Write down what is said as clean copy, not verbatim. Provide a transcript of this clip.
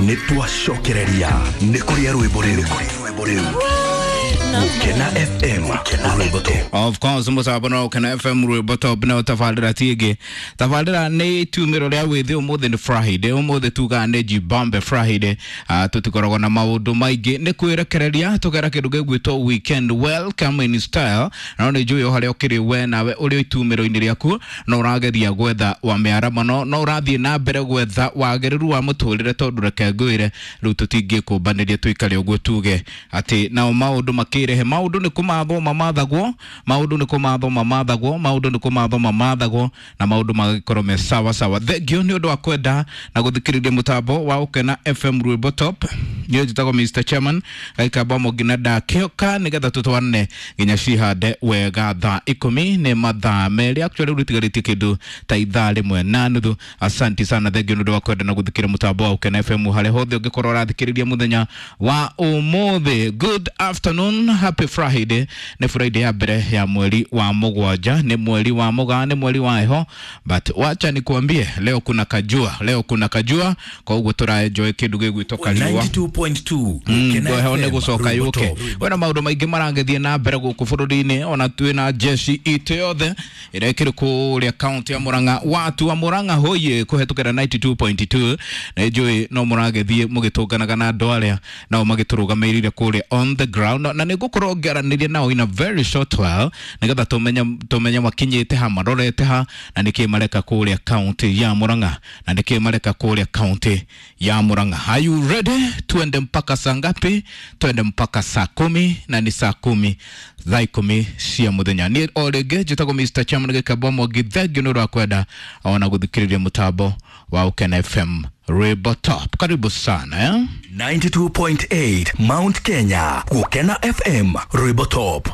Nĩ twacokereria nĩ kũrĩa rwĩmbo rĩu. Gũkena FM Rwĩmbo Top. Of course mũcambo no Ũkena FM Rwĩmbo Top no tabarĩra ti ĩngĩ. Tabarĩra nĩ itumĩro rĩa wĩthĩ. Ũmũthĩ nĩ Friday, ũmũthĩ tugaga nĩ Jibambe Friday. Tũtikoragwo na maũndũ maingĩ, nĩ kwĩrekereria tũgera kĩndũ gĩgwĩtwo weekend, welcome in style. No nĩ njũĩ o harĩa ũkĩrĩ we nawe ũrĩ itumĩro-inĩ rĩaku no ũrageria gwetha wa mĩaramano, no ũrathiĩ na mbere gwetha wagĩrĩru wa mũtũrĩre, tondũ reke ngwĩre rĩu tũtingĩkũmbanĩria tũikare ũguo tuge atĩ nao maũndũ makĩrehe. Maũndũ nĩ kũmathwo mamathagwo, maũndũ nĩ kũmathwo mamathagwo, maũndũ nĩ kũmathwo mamathagwo, na maũndũ magagĩkorwo me sawa sawa. Thengiũ nĩ ũndũ wa kwenda na gũthikĩrĩria mũtambo wa Ũkena FM Rwĩmbo Top. Niĩ njĩtagwo Mr Chairman gaikamba mũngina ndakĩoka nĩgetha tũtwarane nginya cihande wega thaa 10 nĩ mathaa 2. Actually rĩu rĩtigarĩtie kĩndũ ta ithaa 1.5. Asanti sana, thengiũ nĩ ũndũ wa kwenda na gũthikĩrĩria mũtambo wa Ũkena FM harĩa hothe ũngĩkorwo ũrathikĩrĩria mũthenya wa ũmũthĩ. Good afternoon, happy Friday. Nĩ Friday ya mbere ya mweri wa 7, nĩ mweri wa mũgaa, nĩ mweri wa heho, but wacha nikuambie leo kuna kajua, leo kuna kajua, kwa ũguo tũra enjoy kĩndũ gĩgwĩtwo kariũa. 92.2 Gũkena Heho nĩ FM gũcoka Rwĩmbo yũke. Top. Wena maũndũ maingĩ maragĩthiĩ na mbere gũkũ bũrũri-inĩ, ona twĩ na jeshi itũ yothe ĩrĩa ĩkĩrĩ kũrĩa kaunti ya Murang'a. Watu wa Murang'a hoye kũhetũkĩra 92.2, na njũĩ no mũragĩthiĩ mũgĩtũnganaga na andũ arĩa nao magĩtũrũgamĩrĩire kũrĩa on the ground, na nĩ ngũkorwo ngĩaranĩria nao in a very short while nĩgetha tũmenye makinyĩte ha, marorete ha, na nĩkĩ mareka kũrĩa kaunti ya Murang'a, na nĩkĩ mareka kũrĩa kaunti ya Murang'a. Are you ready? Tuende mpaka saa ngapi? Twende mpaka saa 10, na ni saa 10, thaa 10 cia mũthenya. Niĩ o rĩngĩ njĩtagwo Mr Chairman Gĩkamba Mwangi. Thengiũ nĩ ũndũ wa kwenda ona gũthikĩrĩria mũtambo wa Ũkena FM Rwĩmbo Top. Karibu sana, eh? 92.8 Mount Kenya. Gũkena FM Rwĩmbo Top.